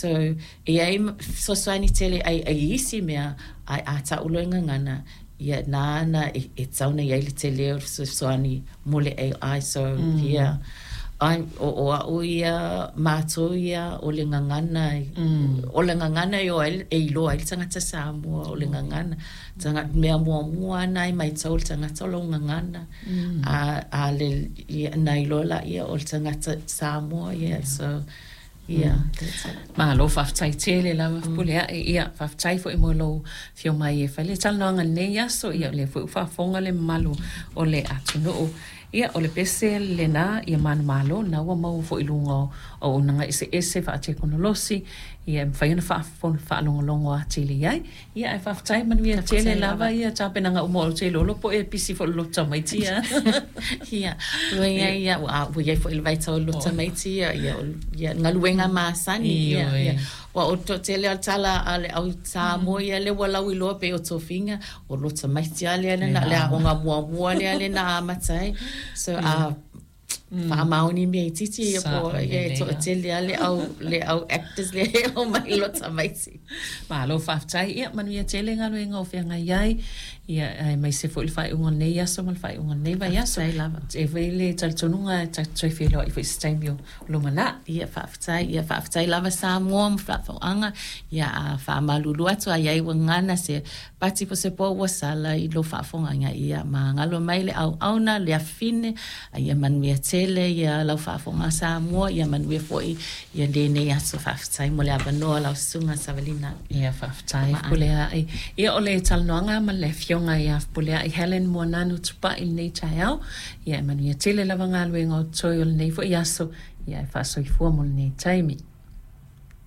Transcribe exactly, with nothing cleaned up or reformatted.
So e iai fesoasoani tele ai ai isi mea ae a ta'u loa i gagana ia na na e, e tatau ona iai le telē o le fesoasoani mo le A I. So mm. yeah, ai o, o a'u ia matou ia o le gagana mm. o le gagana e o ai e iloa ai le tagata Samoa o le gagana taga mea muamua ana ai maitau le tagata o lou gagana mm. a a le ia, na iloa laia o le tagata Samoa, yeah, so yeah, that's it. Malo faafetai tele lava Fepuleai. Ia faafetai foi mo lou fio mai e fai le talanoaga lenei aso. Ia o lea foi ua faafofoga le mamalu o le atunuu. Ia o le pese lena ia manumalo na ua maua foi i luga o auaunaga eseese faatekonolosi ia e mafai ona faalogologo atili ai. Ia ae faafetai manuia tele lava ia tapenaga uma o te lolo po e pisi foi le loto tamaiti ia. Ia, ua iai ia ua ua iai foi le vaitau o le loto tamaiti ia ia ia galuega masani ia ia ua o toatele o le tala a le au Samoa ia le ua lauiloa pei o tofiga o loto tamaiti a lea lena le aoga muamua lea lena amata ai. So a faamaoni mea itiiti ia po ia e toatele a le au le au actors le o mai loto tamaiti. Malo faafetai. Ia manuia tele galuega o feagai ai. Ia aemaise foi le faaiuga o lenei aso ma le faaiuga o lenei vaiaso. Faafetai lava. E fai le talitonuga e tatou toe feiloai foi i se taimi o lumanai. Ia faafetai, ia faafetai lava Samoa ma faafofoga. Ia a faamalulu atu a iai ua gagana se pati po se po ua sala i lou faafofoga ia magalo mai le auauna le afine a ia manuia tele ia lau faafofoga Samoa ia manuia foi ia lenei aso. Faafetai mo le avanoa lau susuga Savalina. Ia faafetai Fepuleai. Ia o le talanoaga ma le afioga ia Fepuleai Helen Moananu Tupai lenei taeao. Ia e manuia tele lava galuega o totoe o lenei foi aso. Ia e faasoifua mo lenei taimi.